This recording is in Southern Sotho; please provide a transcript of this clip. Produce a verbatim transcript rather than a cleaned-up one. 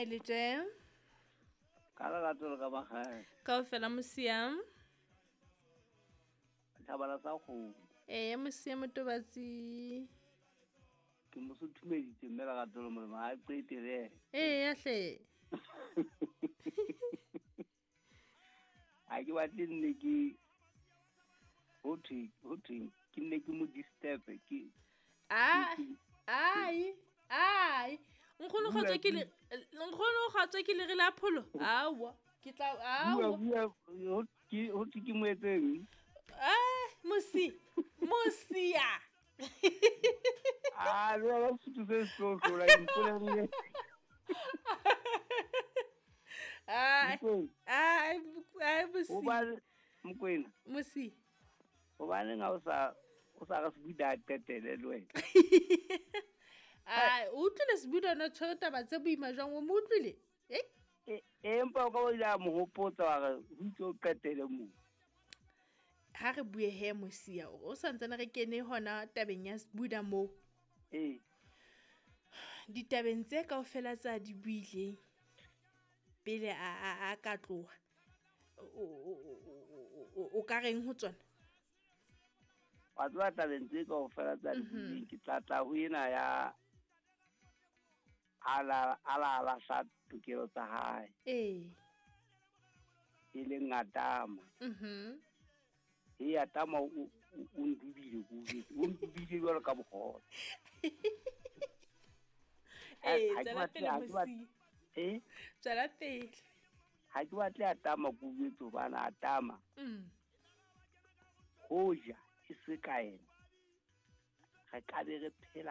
Ha e le tje. Ka lerato le ka magae. Kaofela mosia. Thabala sa kgomo. Ee mosia motobatsi. Ke mo suthumeditse mme lerato le molemo ha qete le. Ee hle. Ha ke batle nne ke ho thwe ho thwe ke nne ke mo disturb ke. Ah ai ai nkgono kgotsa ke le nkgono kgotsa ke le re la pholo awa ke tla awa ho ke ho thwe ke mo etseng ah mosi mosia ah le la suthu se so so la mpolelle ai ai ai mosi o ba Mokwena mosi o ba neng ha o sa o sa re Sebuda qetele le wena. Ai o utlwile Sebuda no tshwere taba tse boima jwang o mo utlwile? Eh empa o ka o ile a mo hopotsa wa re ho itse o qetele mo. Ha re bue he mosia o santsane re kene hona tabeng ya Sebuda mo. Eh ditabeng tse kaofela tsa di buileng pele a a a ka tloha o ka reng ho tsona? Wa tseba tabeng tse kaofela tsa di buileng ke tla tla ho ena ya ala ala ala sa tokelo tsa hae. Eh e leng Adama. Mhm. E Adama o o ndubile go o ndubile jwalo ka bogola. Eh tswela pele mosi. Eh tswela pele. Ha ke batle Adama go botse bana Adama. Mm. Hoja e se ka ena. Re ka be re phela